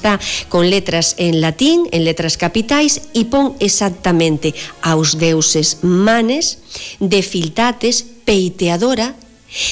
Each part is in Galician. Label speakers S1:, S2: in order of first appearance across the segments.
S1: está con letras en latín, en letras capitais, e pon exactamente aos deuses Manes, Defiltates, Peiteadora.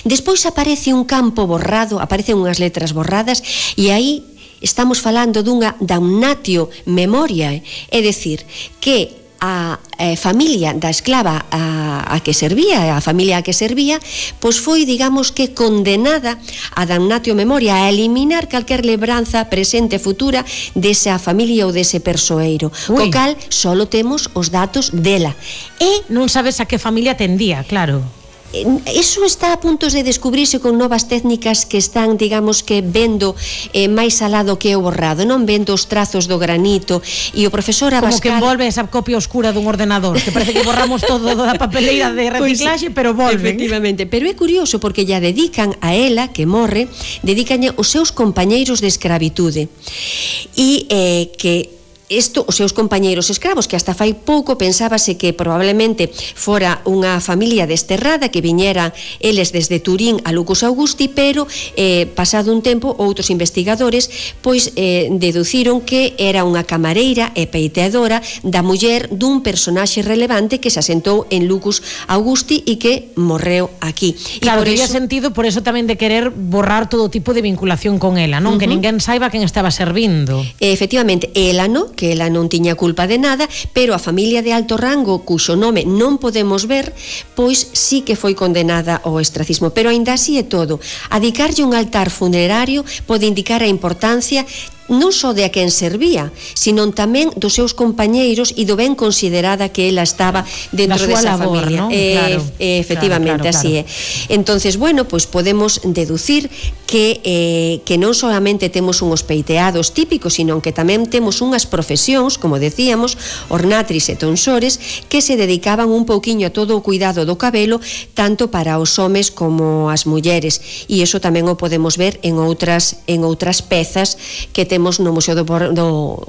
S1: Despois aparece un campo borrado, aparecen unhas letras borradas, e aí estamos falando dunha damnatio memoria, é dicir, que a familia da esclava a que servía, a familia a que servía, pois foi, digamos que, condenada a damnatio memoria, a eliminar calquer lembranza presente e futura desa familia ou dese persoeiro. Co cal, só temos os datos dela.
S2: E non sabes a que familia tendía, claro.
S1: Eso está a puntos de descubrirse con novas técnicas que están, digamos que, vendo máis alado que o borrado, non vendo os trazos do granito, e o profesor Abascal...
S2: Como que envolve esa copia oscura dun ordenador, que parece que borramos todo da papeleira de reciclaxe, pero volven.
S1: Efectivamente, pero é curioso porque ya dedican a ela, que morre, dedicanlle os seus compañeiros de escravitude, e que isto, os seus compañeiros escravos, que hasta fai pouco pensábase que probablemente fora unha familia desterrada que viñera eles desde Turín a Lucus Augusti, pero pasado un tempo outros investigadores pois deduciron que era unha camareira e peiteadora da muller dun personaxe relevante que se asentou en Lucus Augusti e que morreu aquí.
S2: Claro, que había sentido por eso tamén de querer borrar todo tipo de vinculación con ela, non? Que ninguén saiba quen estaba servindo.
S1: Efectivamente, ela non, que ela non tiña culpa de nada, pero a familia de alto rango, cuxo nome non podemos ver, pois sí que foi condenada ao ostracismo. Pero aínda así é todo. Adicarlle un altar funerario pode indicar a importancia non só de a quen servía, sino tamén dos seus compañeiros e do ben considerada que ela estaba dentro desa familia.
S2: Claro,
S1: efectivamente,
S2: claro.
S1: así é. Entonces, bueno, pois podemos deducir que non solamente temos unhos peiteados típicos, sino que tamén temos unhas profesións, como decíamos, ornatris e tonsores, que se dedicaban un pouquiño a todo o cuidado do cabelo, tanto para os homes como as mulleres, e iso tamén o podemos ver en outras pezas que temos no Museo do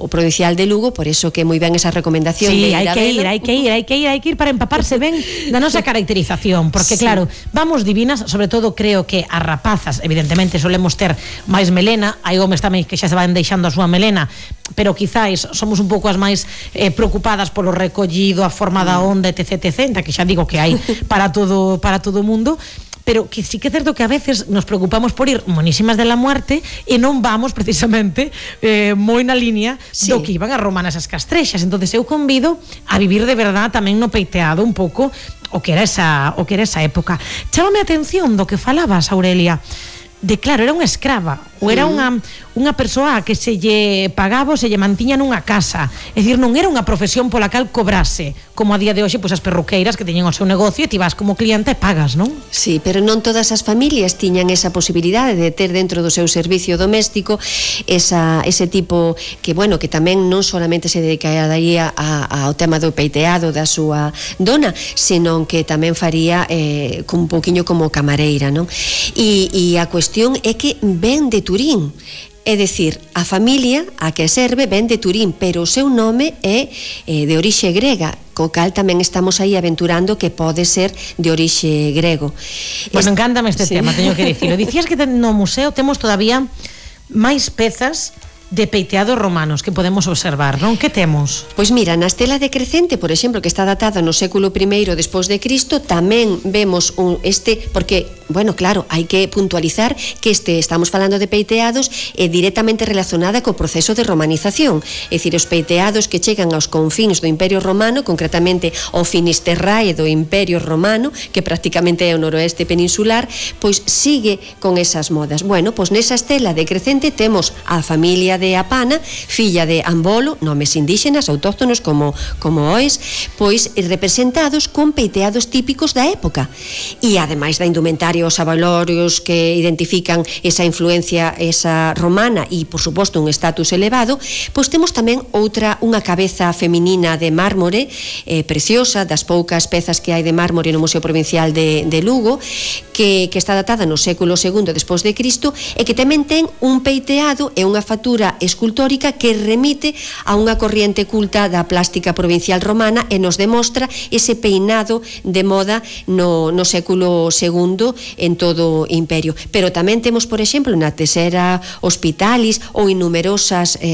S1: Provincial de Lugo, por eso que moi ben esa recomendación de ir a ver.
S2: Hai que ir para empaparse ben da nosa caracterización, porque claro, vamos divinas, sobre todo creo que as rapazas, evidentemente solemos ter máis melena, hai homes tamén que xa se van deixando a súa melena, pero quizáis somos un pouco as máis preocupadas polo recollido, a forma da onda, etc, que xa digo que hai para todo o mundo. Pero que sí que é certo que a veces nos preocupamos por ir monísimas de la muerte e non vamos precisamente moi na línea do que iban as romanas as castrexas. Entonces eu convido a vivir de verdad tamén no peiteado un pouco o que era esa época. Chámame a atención do que falabas, Aurelia, de claro, era unha escrava ou era unha persoa que se lle pagaba ou se lle mantiña nunha casa, é dicir, non era unha profesión pola cal cobrase, como a día de hoxe, pois as perruqueiras que teñen o seu negocio e ti vas como cliente e pagas, non?
S1: Sí, pero non todas as familias tiñan esa posibilidade de ter dentro do seu servicio doméstico ese tipo que, bueno, que tamén non solamente se dedicaría ao tema do peiteado da súa dona, senón que tamén faría un poquinho como camareira, non? E a cuestión é que ven de Turín, é dicir, a familia a que serve ven de Turín, pero o seu nome é de orixe grega, co cal tamén estamos aí aventurando que pode ser de orixe grego.
S2: Bueno, encántame este tema, teño que dicirlo. Dicías que no museo temos todavía máis pezas de peiteados romanos que podemos observar, non? Que temos?
S1: Pois mira, na estela de Crecente, por exemplo, que está datada no século I despois de Cristo, tamén vemos porque, bueno, claro, hai que puntualizar que estamos falando de peiteados directamente relacionada co proceso de romanización, é dicir, os peiteados que chegan aos confins do Imperio Romano, concretamente ao Finisterrae do Imperio Romano, que prácticamente é o noroeste peninsular, pois sigue con esas modas. Bueno, pois nesa estela de Crecente temos a familia de Apana, filla de Ambolo, nomes indígenas, autóctonos como oes, pois representados con peiteados típicos da época. E ademais da indumentaria, os abalorios que identifican esa influencia esa romana e, por suposto, un estatus elevado, pois temos tamén unha cabeza feminina de mármore preciosa, das poucas pezas que hai de mármore no Museo Provincial de Lugo, que está datada no século II despois de Cristo e que tamén ten un peiteado e unha factura escultórica que remite a unha corriente culta da plástica provincial romana e nos demostra ese peinado de moda no século II en todo o imperio. Pero tamén temos, por exemplo, na Tesera Hospitalis ou en numerosas